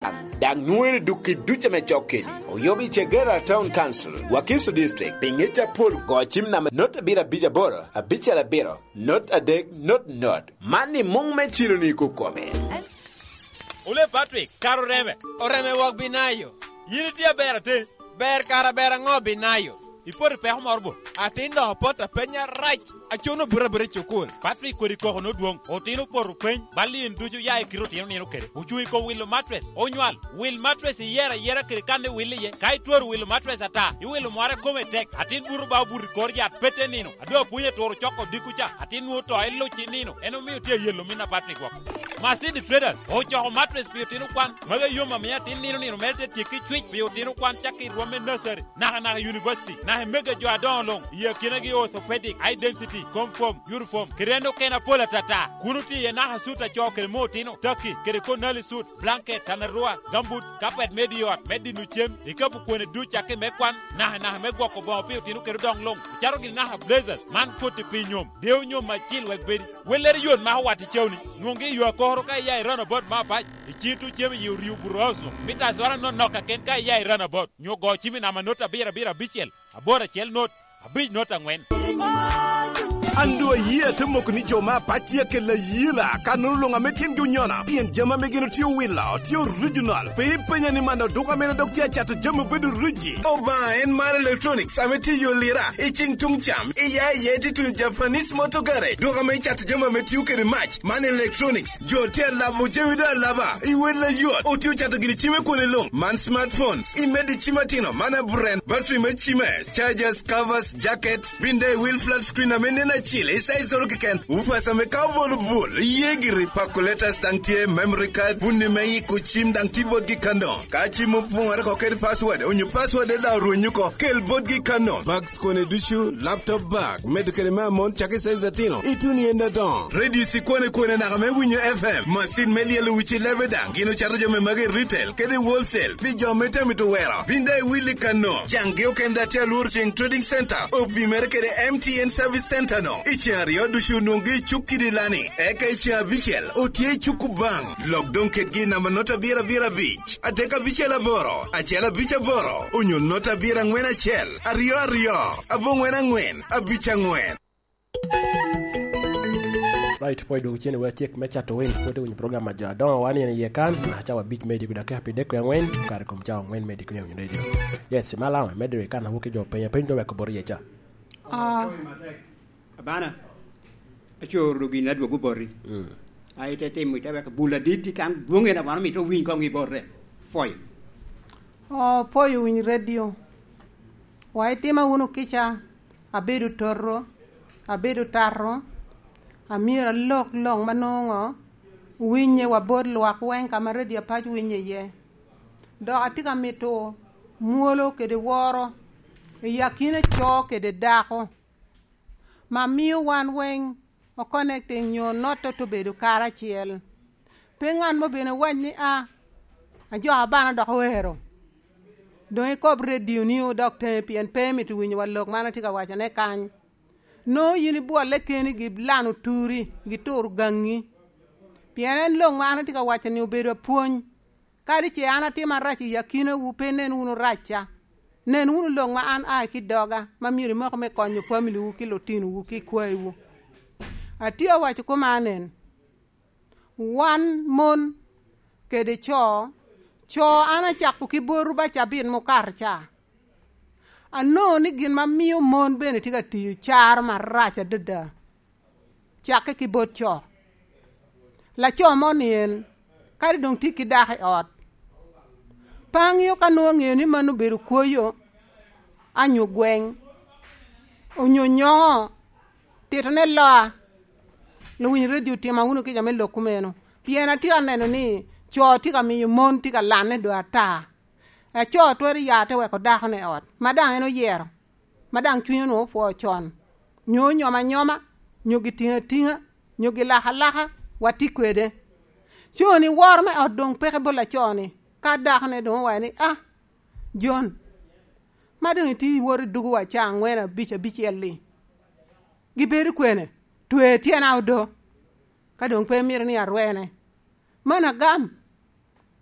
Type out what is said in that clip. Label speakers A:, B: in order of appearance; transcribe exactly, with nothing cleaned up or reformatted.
A: Dang nwere duki duce me cok kedi. Oyobi Chegera Town Council, Wakiso District, Pingita Pol go chim nama not abira bija boro, abicha labiro, not adek, not not. Mani mung me chilo ni kukome.
B: Ule Patrick, karo reme.
C: Oreme wok binayo.
B: Yini tia bera te.
C: Ber kara bera ngo binayo.
B: Ipori peko morbo.
C: Atin do pota penya rach. Achuno bura bura chukul.
B: Patrick kodi koko no duong. Otino poro peny. Balin ducu ya ikiro tino nino kere. Uchui ko wilo mattress. Onywal. Wil mattress iyera yera kere kande wili ye. Kai tuor wilo mattress ata. Iwilo mware kome tek. Atin buru ba buri kor ya pete nino. Adwa punye toro choko dikucha. Atin nuo to iluchi nino. Eno miyo tie yelo mina Patrick wako. Masindi Traders. Ochoko mattress piyo tino kwan. Maga yoma miya tin nino nino merte tiki chwich piyo tino kwan chaki ruome nursery. Naka naka university. Naka mega jo adon long. Iya kinagi orthopedic. High density. Conform. Uniform. Kirendo kena pola tata. Kunuti ye naka suit acho kere mo tino. Turkey. Kere ko nali suit. Blanket. Tanarua. Gumboot. Carpet mediot. Medi nuchem. Ikapu kwene du chaki mekwan. Naka naka megwako bongo piyo tino kere dong long. Charo gini naka blazers. Man koti pi nyom. Deo nyom machil wek bedi. Weleri yon ma wati chewni. Nwongi ywa kohoro ka iya irana bot ma bach. Ichitu chemi yu riu buroso. Mita swara no noka ken ka iya irana bot. Nyo go chimi nama nota bira bira bichel. Abora chel not. Abich not angwen.
D: Andu yie te moko ni jo ma patie ke la yila kanu lunga metien gi nyona pien jama megeno tiyo wila tiyo original pe penya ni mando duka mena dok tia chato jama bedo riji oba en mar electronics ameti yo lira e ching tung cham e ya ye ti tu Japanese motor garage duka me chato jama metiyo ke match man electronics jo tia la mo jemi da laba i wela yo o tiyo chato gini chime kone long man smartphones i medi chimatino mana brand battery me chime chargers covers jackets binde wheel flat screen amene chile isaizo ken ufasa me kabol bul yegiri calculators dang tie memory card bunni me ku chim dang ti bot gi kando ka chim pung ar ko ker password onyu password da runyu ko kel bot gi kando bags kone duchu laptop bag medical ma mon chake size tino ituni enda don radio si kone kone na me winyo F M machine me lielu wichi lebe dang gino charge me mage retail kede wholesale bi jo mete mi to wera binde willy kano jangi okenda telur ching trading center opi merkede M T N service center no Ichari odushu nungi chukidi lani. Eka ichi abichel otie chukubang. Lockdown ketgi namba nota bira bira beach. Ateka bichel aboro. Achela bich aboro. Unyo nota bira ngwen achel. Ariyo ariyo. Abo ngwen angwen. Abich angwen.
E: Right, poi dugu chini we chik mecha to win pote win program ma jadon wani ni yekan na chawa beach medi kudake happy deko ya ngwen kare kom chawa ngwen medi kunya radio. Yes, malawa medi kana wuke jo penya penjo we kobori yecha.
F: Ah.
G: Abana achoro gina duogo borri ai te te mi te ka bula dit kan duonge na bana mi to win ko ngi borre foi
F: o poi win radio wa itima wono kicha abedo torro abedo tarro amira lok long manongo winye wa bor lwak wen kama radio pach winye ye do atika mito muolo kede woro yakine cho kede dako ma miyo wan weng o connecting nyo noto to bedo kara chiel pe ngan mo bene wany ni a ajo abana dok wero do e kob radio ni o dok te pien pe mit winyo wa lok mana tika wacho ne kany no yini bwole keni gi lano turi gi tur gangi pien en long mana tika wacho ni obedo puony kadi che an atima rach yakine wu pe nen unu racha nen unu long ma an a ki doga ma miri moko me konyo family wu ki lotino wu ki kwai wu atiyo wacho kumanen wan mon kede cho cho an achako ki boru ba chabin mukar cha ano ni gin ma miyo mon bene tika tiyo char marach adada chake ki bot cho la cho monien kadi dong ti ki dak e ot pang'yo ka nong'eyo ni mano bedo kuoyo anyo gweng' onyo nyong'o tito ne loa luwiny radio tima uno ki jame lok kumeno pien atye ka neno ni co tye ka miyo mon tye ka lanne do ata aco twero ya te weko dako ne ot ma dang en oyiero ma dang cwinye onwongo opwo con nyo onyoma anyoma nyo gitingo atinga nyo gilako alaka watye kwede co ni woro me ot dong peke bot laco ni ka dako ne dong owaco ni ah John ma dong itye iwot idugo wa ca angwen abic abicel-li gibedo kwene twe tyena odo ka dong pe mito ni arwene man agam